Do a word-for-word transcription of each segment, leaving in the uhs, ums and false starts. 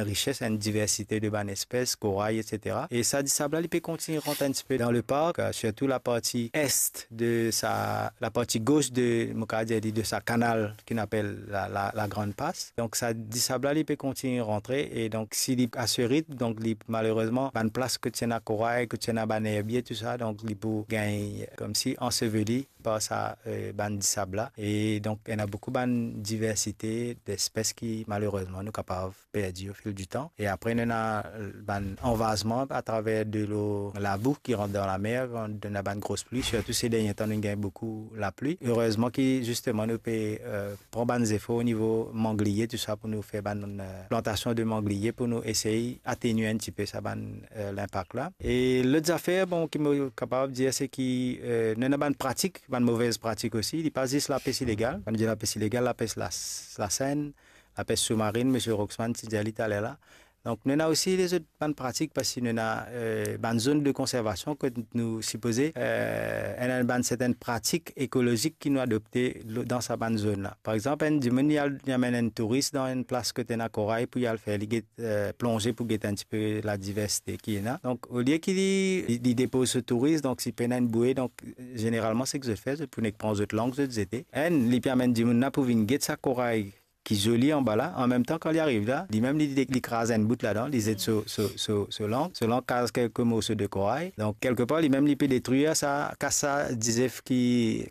rises, enn diversite de bann espes, koray, et cetera. E sa disab la, li pe kontign rant enn tipe dan le park, euh, sirtou laparti est de sa, laparti gos de, mo kapav dir li, de sa kanal ki nou apel la, la, la Grande Passe. Donk sa disab la, li pe kontign rantre, e donk si li a se ritm, donk li, malerezman, bann plas kot ti ena koray, kot ti ena bann erbie, tou sa, donk li pou gagn, euh, koumsi anseveli par sa, euh, bann disab la. E donk, ena boukou bann diversite despes ki, malerezman, nou kapav perdi o fil di tan. E apre, nou ena, euh, bann anvazman atraver delo, labou ki rant dan lamer, kan nou ena bann gros pli, sirtou se dernie tan, nou gagn boukou lapli. Erezman ki, zisteman, nou pe, euh, pran bann zefor o nivo mangliye, tou sa, pou nou fer bann, euh, plantasion de mangliye, pou nou esey atenye enn tipe sa bann, euh, linpak la. E lot zafer, bon, ki mo kapav dir, se ki, euh, nou ena bann pratik, bann move pratik osi. Li pa zis lapes ilegal. Kan nou dir lapes ilegal, lapes la, lasenn, lapes soumarinn, misie Roxman ti dir li taler la. Donk, nou ena osi lezot bann pratik, parski nou ena, euh, bann zone de conservation kot nou sipoze, euh, ena bann sertenn pratik ekolozik ki nou adopte lo-, dan sa bann zone la. Par exanp, enn dimoun, li al, li amenn enn touris dan enn plas kot ena koray pou li al fer, li get, euh, plonze pou get enn tipe ladiversite ki ena. Donk, olie ki li, li, li depoz so touris, donk si pena enn boue, donk, zeneralman, seki zot fer, zot pou nek pran zot lang, zot zete. Enn, li pe amenn dimoun la pou vinn get sa koray ki zoli anba la. An mem tan, kan li ariv la, limem li, li kraz enn bout ladan, li zet so, so, so, so lang, so lang kraz kelke morso de koray. Donk, kelkepar, limem li pe detrir sa, kas sa dizef ki,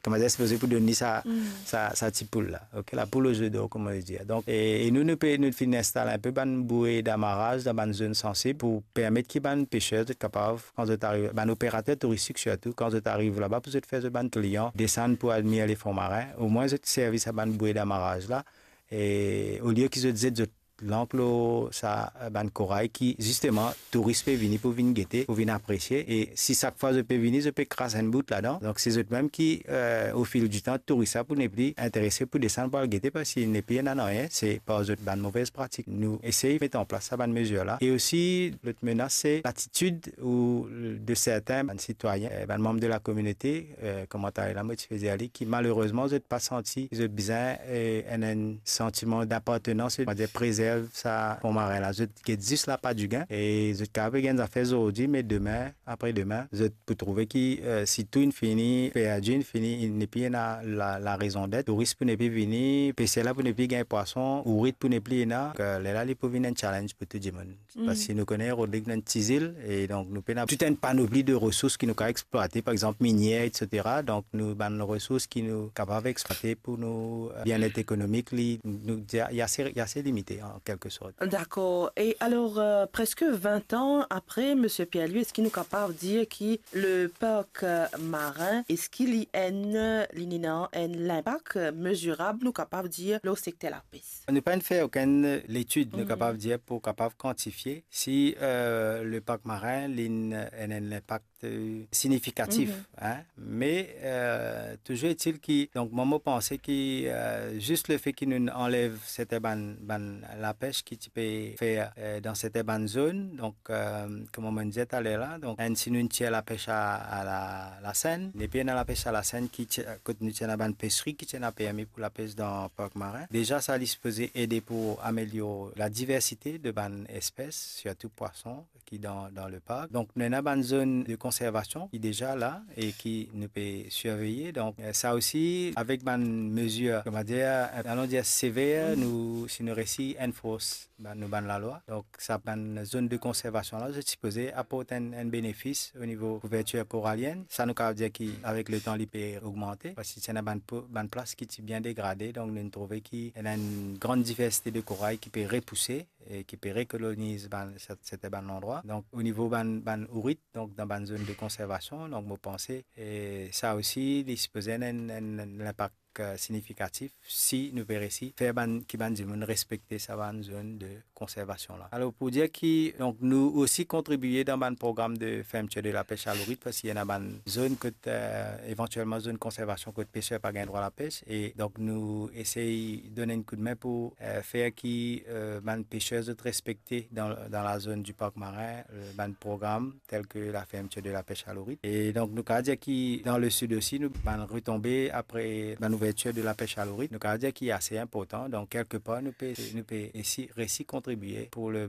kouma dir, sipoze pou donn li sa, sa, sa ti poul la. Ok, la poule aux œufs d'or, kouma nou dir. Donk, e, e nou, nou pe, nou finn instal enpe bann boue damaraz dan bann zone sansib pou permet ki bann peser zot kapav, kan zot ariv, bann operater touristik sirtou, kan zot ariv laba pou zot fer zot bann klian desann pou admir le fon marin, omwin zot servi sa bann boue damaraz la, e olie ki zot zet zot lank lo sa, eh, bann koray ki, zisteman, touris pe vini pou vinn gete, pou vinn apresie. E si sak fwa zot pe vini, zot pe kraz enn bout ladan, donk se zot mem ki, eh, o fil di tan, touris la pou nepli interese pou desann pou al gete, parski nepli ena nanye, se par zot bann move pratik. Nou esey met an plas sa bann mezir la. E osi, lot menas, se latitid ou de sertin bann sitwayin, eh, bann manm de lakominote, eh, kouma taler la mo ti pe dir li, ki malerezman zot pa santi zot bizin, eh, enn, enn santiman dapartenans, setadir prezerv sa fon marin la. Zot get zis lapa digin e zot kapav gagn zafer zordi, me demin, apre demin, zot pou trouve ki, eh, si tou inn fini perdi, inn fini, inn nepli ena la, la rezondet, touris pou nepli vini, peser la pou nepli gagn pwason, ourit pou nepli ena. Donk, eh, lerla li pou vinn enn challenge pou tou dimoun. Parski nou kone Rodrig nou enn ti zil, e donk nou pena tou enn panopli de resours ki nou kapav eksplwate, par exanp minier, et cetera. Donk nou bann resours ki nou kapav eksplwate pou nou, eh, bienet ekonomik, li, nou, li ase, li ase limite an kelke sort. Dakor. E alor, eh, preske vin an apre, misie Pierre-Louis, eski nou kapav dir ki le park, eh, marin, eski li enn, li ena enn linpak mezirab, nou kapav dir, lor sekter lapes? Nou pa'nn fer okenn letid, nou kapav dir, pou kapav kantifie si, eh, le park marin, li ena enn linpak, eh, signifikatif, hein. Me, eh, touzour etil ki, donk, mwa, mo panse ki, eh, zis lefe ki nou anlev sertin bann, bann lapes ki ti pe fer, eh, dan sertin bann zone, donk, eh, kouma mo dir taler la, donk, enn, si nou tir lapes a, a la, lasenn, nepli ena lapes a lasenn ki ti, kot nou ti ena bann pesri ki ti ena permi pou lapes dan park marin. Deza, sa li sipoze ede pou amelior ladiversite de bann espes, sirtou pwason ki dan, dan le park. Donk, nou ena bann zone de konservasion ki deza la e ki nou pe sirveye. Donk, eh, sa osi, avek bann mezir, kouma dir, alon dir sever, nou, si nou resi enforce bann, nou bann lalwa. Donk, sa bann zone de konservasion la, zot sipoze aport enn, enn benefis o nivo kouvertir koralienn. Sa nou kapav dir ki, avek letan, li pe ogmante, parski ti ena bann po-, bann plas ki ti bien degrade, donk nou trouve ki ena enn gran diversite de koray ki pe repouse e ki pe rekoloniz bann, set-, sertin bann landrwa. Donk, o nivo bann, bann ourit, donk dan bann zone de konservasion, donk mo panse, e sa osi, li sipoze ena enn, enn, enn linpak, eh, signifikatif si nou pe resi fer bann, ki bann dimoun respekte sa bann zone de konservasion la. Alor, pou dir ki, donk, nou osi kontribie dan bann program de fermeture de la pêche à l'ourite, parski ena bann zone kot, eh, evantielman zone konservasion kot peser pa gagn drwa lapes, e donk nou esey donn enn koudme pou, eh, fer ki, eh, bann peser zot respekte dan, dan la zone du parc marin, eh, bann program tel ke la fermeture de la pêche à l'ourite. E donk, nou kapav dir ki dan le sid osi, nou bann retonbe apre bann ouvertir de la pêche à l'ourite, nou kapav dir ki ase inportan. Donk, kelkepar, nou pe, nou pe resi, resi kontribie pou le